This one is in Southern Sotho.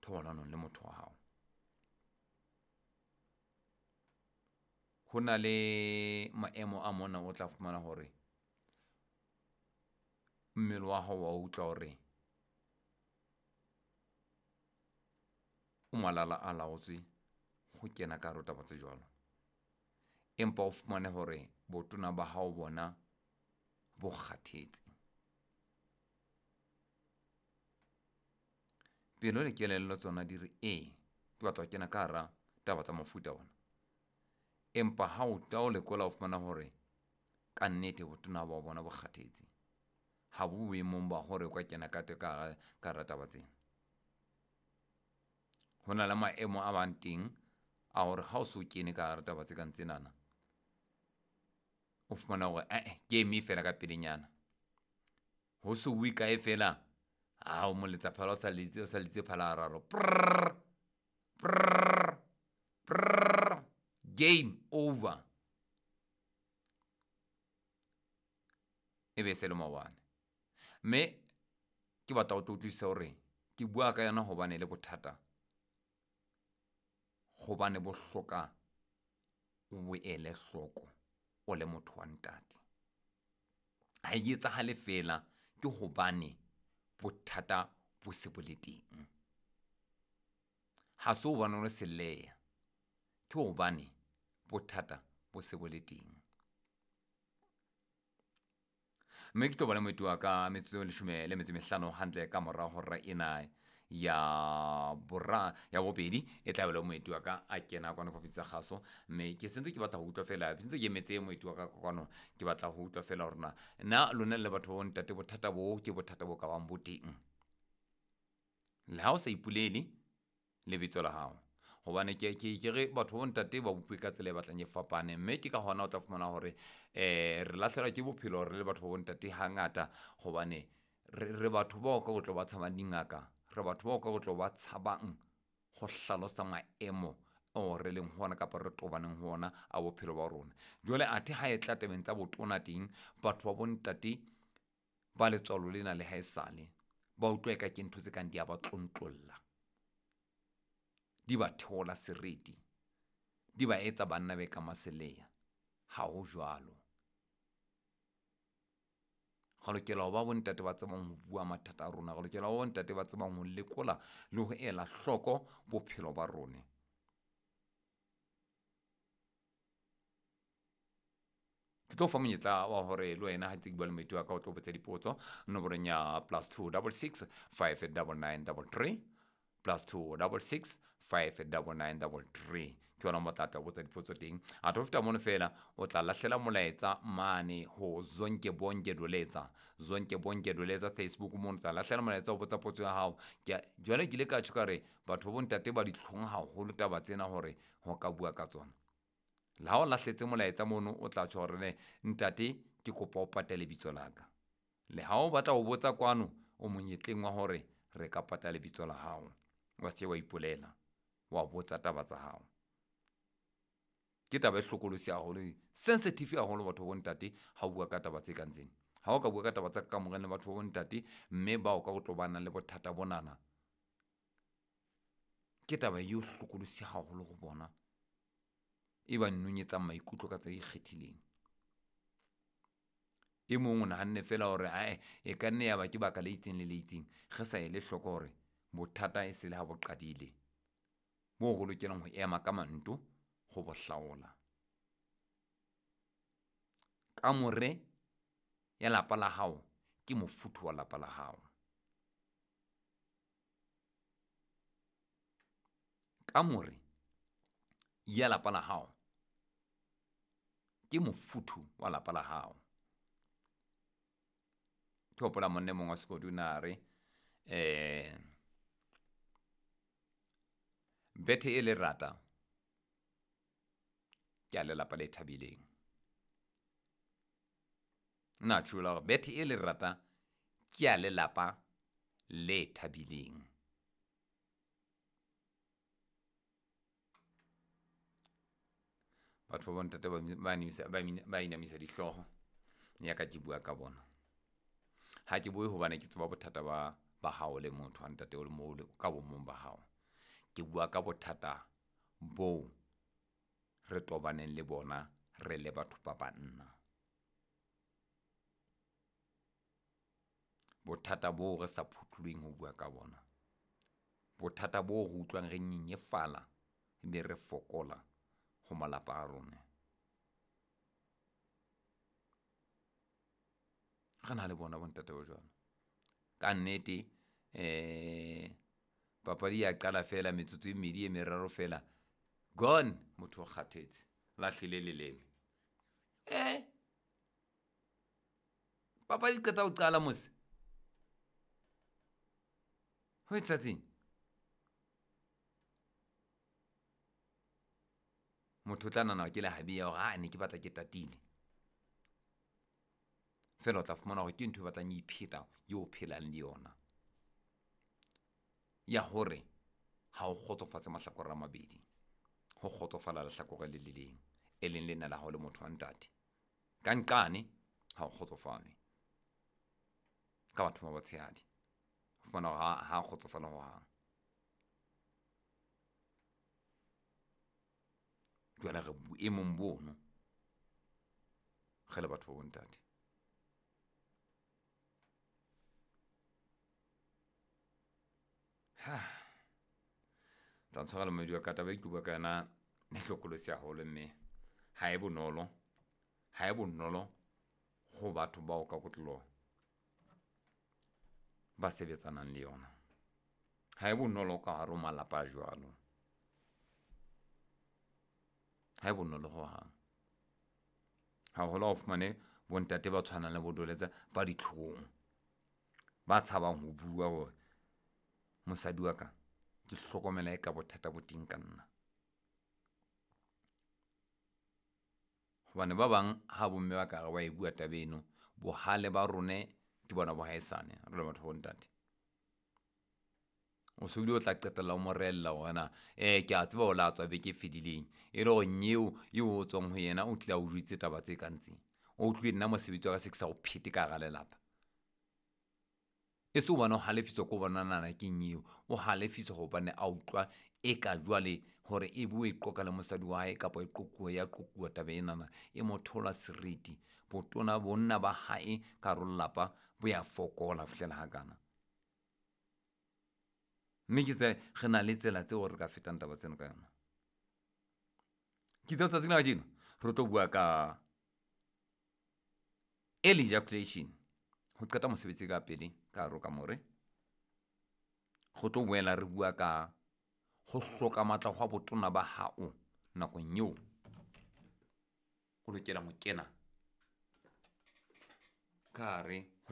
Thobalanong le motho wa hao. Ho na le maemo a mona o tla fumana hore mmele wa hao wa utlwa hore o malala a laotswe ho kena ka hare ho taba tse jwalo. Empa o fumane hore botona ba hao bona bo kgathetse. Pelo le kelello tsona di re ee, ke batla ho kena ka hara taba tsa mofuta ona. Empa ha o ta o lekola o fumana hore ka nnete botona ba bona bo kgathetse. Ha bo boemong ba hore o ka kena ka ka hara taba tsena. Ho na le maemo a bang teng a hore ha o so kene ka hara taba tse kang tsenana, o fumana hore ae ke eme fela ka pelenyana. Ho so bue kae fela, ha o moletsa phala o sa letse, o sa letse phala hararo. Prrr, prrr, prrr, game over. E be se le maobane. Mme ke batla ho tlo utlwisisa hore ke bua ka yona hobane le bothata, hobane bo hloka o bo ele hloko o le motho wa ntate. Ha e etsahale fela ke hobane bothata bo se bo le teng. Ha se hobane o le seleya, ke hobane bothata bo se bo le teng. Mme ke tlo ba le moeti wa ka metsotso e leshome le metso e mehlano hantle ka mora hora ena ya bora ya bobedi e tla be le moeti wa ka a kena kwano phapusing tsa kgaso. Mme ke sentse ke batla ho utlwa fela, ke ntse ke emetse moeti wa ka kwano, ke batla ho utlwa fela hore na na lona le batho ba bontate bothata bo ke bothata bo ka bang bo teng. Le ha o sa ipolele lebitso la hao, hobane ke ke ke re batho ba bontate ba bopilwe ka tsela e batlang e fapane. Mme ke ka hona o tla fumana hore re lahlehelwa ke bophelo re le batho ba bontate hangata, hobane re batho bao ka ho tlo ba tshabang dingaka, re batho bao ka ho tlo ba tshabang ho hlalosa maemo ao re leng ho ona kapa re tobaneng ho ona a bophelo ba rona. Jwale athe ha e tla tabeng tsa botona teng, batho ba bontate ba letswalo lena le haesale ba utlwa eka ke ntho tse kang di a ba tlontlolla, di ba theola seriti, di ba etsa banna be ka maseleya. Ha ho jwalo. Re lokela ho ba bontate ba tsebang ho bua mathata a rona, re lokela ho ba bontate ba tsebang ho lekola le ho ela hloko bophelo ba rona. Ke tlo fa monyetla wa hore le wena ha ntse ke bua le moeti wa ka o tlo botsa dipotso nomorong ya +2 66 5 99 33, +2 66 5 99 33. Ke yona mo tla tla botsa dipotso teng. A tlo feta mono fela o tla lahlela molaetsa mane ho Zonke Bonke Doletsa, Zonke Bonke Doletsa Facebook mono, o tla lahlela molaetsa o botsa potso ya hao. Ke jwale ke ile ka tjho ka re batho ba bontate ba ditlhong haholo taba tsena hore ho ka bua ka tsona. Le ha o lahletse molaetsa mono o tla tjho hore ne ntate ke kopa o pate lebitso la ka. Le ha o batla ho botsa kwano o monyetleng wa hore re ka pata lebitso la hao, wa se wa ipolela, wa botsa taba tsa hao. Ke taba e hlokolosi haholo, sensitive haholo batho ba bontate ha o bua ka taba tse kang tsena. Ha o ka bua ka taba tsa kamoreng le batho ba bontate mme bao ka ho tlo ba nang le bothata bonana, ke taba e hlokolosi haholo ho bona, e ba nonyetsang maikutlo ka tsela e ikgethileng. E mong o nahanne fela hore ae e ka nne ya ba ke baka le itseng le le itseng, re sa ele hloko hore bothata e se le ha bo qadile, moo re lokelang ho ema ka manto ho bo hlaola. Kamore ya lapa la hao ke mofuthu wa lapa la hao. Kamore ya lapa la hao ke mofuthu wa lapa la hao. Ke hopola monna e mong wa sekodi o na re bethe e lerata ke a lelapa le thabileng. Nna tjho hore bethe e lerata ke a lelapa le thabileng. Batho ba bontate ba inamisa dihlooho ya ka ke bua ka bona. Ha ke bue hobane ke tseba bothata ba hao le motho wa ntate o le mo ka bomong ba hao. Ke bua ka bothata boo re tobaneng le bona re le batho ba banna. Bothata boo re sa phuthuloheng ho bua ka bona. Bothata boo re utlwang re nyenyefala ebe re fokola ho malapa a rona. Re na le bona bontate ba jwalo. Ka nnete papadi ya qala fela metsotso e mmedi e meraro fela, gone, motho o kgathetse, lahlile leleme. Papadi e qeta ho qala mose. Ho etsahatseng? Motho o tla nahana ke lehabi ya hore ha ne ke batla ke tatile. Fela o tla fumana hore ke ntho e batlang e ipheta eo o phelang le yona. Ya hore ha o kgotsofatse mahlakore a mabedi, ho kgotsofala lehlakore le le leng, e leng lena la hao le motho wa ntate. Ka nqane ha o kgotsofale ka batho ba batshehadi. O fumana hore ha kgotsofala hohang. Jwale re boemong bono re le batho ba bontate. Ha tla ntshwara le moedi wa ka, taba e ke bua ka yona e hlokolosi haholo, mme ha e bonolo, ha e bonolo ho batho bao ka kotloloho ba sebetsanang le yona. Ha e bonolo ka hare ho malapa a jwalo. Ha e bonolo hohang. Haholo ha o fumane bontate ba tshwanang le bo Doletsa ba ditlhong, ba tshabang ho bua hore mosadi wa ka ke hlokomela e ka bothata bo teng ka nna. Hobane ba bang ha bomme ba ka re wa e bua taba eno, bohale ba rone ke bona bo haesale re le batho ba bontate. O so bile o tla qetella o mo rehella hore na ke a tseba o la tswa beke e fedileng, e le hore nyeo eo o tswang ho yena o tlile a o jwetse taba tse kang tse. O utlwile nna mosebetsi wa ka se ke sa o phete ka hara lelapa. E se hobane o halefiswa ke ho bona nana ke nyeo, o halefiswa hobane a utlwa eka jwale hore e be o e qoqa le mosadi wa hae kapa e qoquwa ya qoquwa taba enana e mo theola seriti. Botona bonna ba hae ka hare ho lelapa bo ya fokola ho fihlela hakana. Mme ke tse re na le tsela tseo re ka fetang taba tseno ka yona. Ke itse tsatsing la kajeno re tlo bua ka early ejaculation, ho qeta mosebetsi ka pele ka hare ho kamore. Re tlo boela re bua ka ho hloka matla hwa botona ba hao nakong eo o lokelang ho kena ka hare.